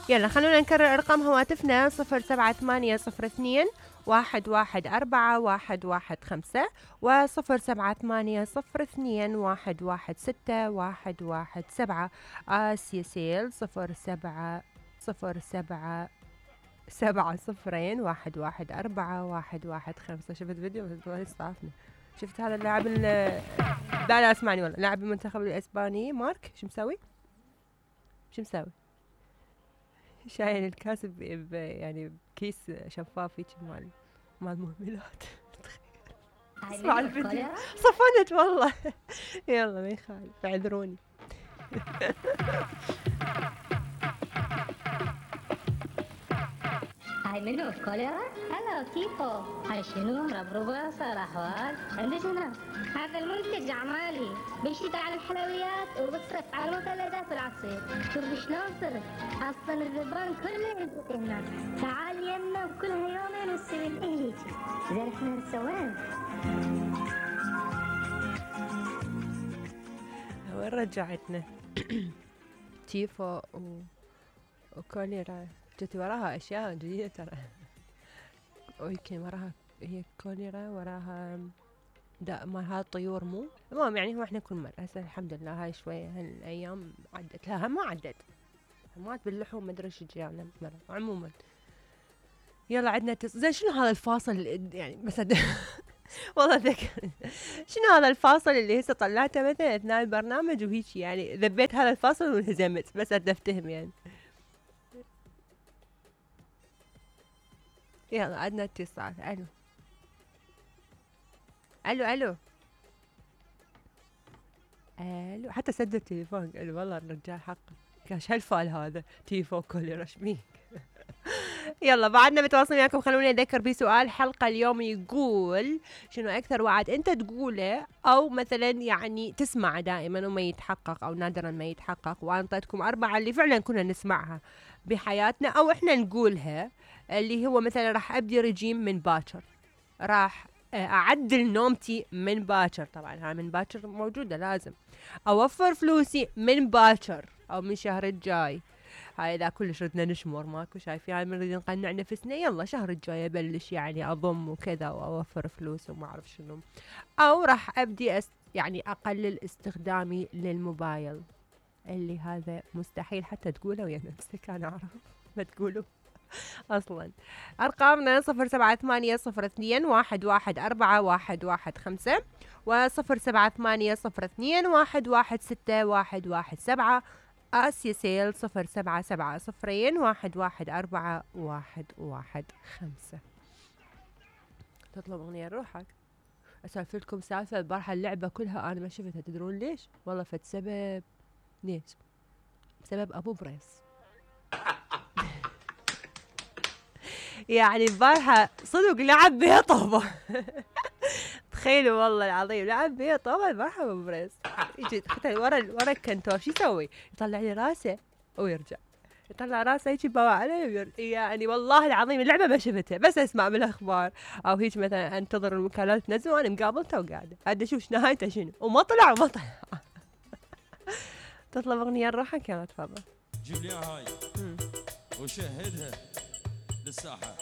يلا خلونا نكرر ارقام هواتفنا 07802 114 115 و07802 116 117 آسيا سيل 0700114 شفت فيديو صافنا. شفت هذا اللاعب لا اسمعني والله لاعب المنتخب الاسباني مارك شو مسوي؟ شايل الكاس يعني بكيس شفاف هيك مال مهملات. اسمع الفيديو صفنت والله. يلا ما يخالف اعذروني. هاي منو كوليرا؟ هلا كيفو؟ هاي شنو؟ ربربة صار أحوال؟ عندك هنا هذا المنتج أعمالي بيشتغل على الحلويات وبصرف على المثلجات والعصير. شوف شلون صرت أصلا الذبان كله يزبط هنا. تعال يمنا وكلها يومين ونسوي هيك. زين احنا سوين؟ وين رجعتنا؟ تيفو وكوليرا جت وراها اشياء جديده ترى. ويمكن وراها هي كوليرا وراها مال هاي الطيور مو المهم يعني هو احنا كل مره هسه الحمد لله هاي شويه هالايام عدت لها ما عدت مات باللحوم ما ادري ايش جانا مره عموما. يلا عندنا زين شنو هذا الفاصل يعني مثلا والله ذكر شنو هذا الفاصل اللي هسه طلعته مثلا اثناء البرنامج وهيك يعني ذبيت هذا الفاصل وانهزمت بس افتهم يعني. يلا عندنا اتصال. الو حتى سد التليفون قال والله الرجال حقه كاش هالفال هذا تيفو كولي رشميك. يلا بعدنا متواصلين معكم. خلوني اذكر بسؤال حلقه اليوم يقول شنو اكثر وعد انت تقوله او مثلا يعني تسمع دائما وما يتحقق او نادرا ما يتحقق، وانا اعطيتكم 4 اللي فعلا كنا نسمعها بحياتنا او احنا نقولها، اللي هو مثلا راح ابدي رجيم من باكر، راح اعدل نومتي من باكر، طبعا هاي من باكر موجوده لازم، اوفر فلوسي من باكر او من شهر الجاي. هاي اذا كلش ردنا نشمر ماكو شايفين هاي بنريد نقنع نفسنا يلا شهر الجاي ابلش يعني اضم وكذا واوفر فلوس وما اعرف شنو، او راح ابدي يعني اقلل استخدامي للموبايل، اللي هذا مستحيل حتى تقوله ويا نفسك انا اعرف ما تقولوا اصلا. ارقامنا 07802114115 و07802116117 آسيا سيل 07701141115. تطلب أغنية روحك. أسولف لكم سالفة البارحة اللعبة كلها أنا ما شفتها، تدرون ليش؟ والله فد سبب. ليش؟ بسبب أبو بريس. يعني البارحة صدق لعب بيها طوبة. تخيلوا والله العظيم لعب بيها طوبة البارحة أبو بريس. يجي حتى ورا الكنتور شو يسوي؟ يطلع لي راسه ويرجع، يطلع راسه هيك يبوع عليه يعني والله العظيم اللعبة ما شفتها بس اسمع بالاخبار او هيك مثلا انتظر المكالمات تنزل وانا مقابلته وقاعده قاعد اشوف نهايته شنو وما طلع. تطلب اغنية لروحك يلا تفضل. جيب لي هاي وشهدها للساحة.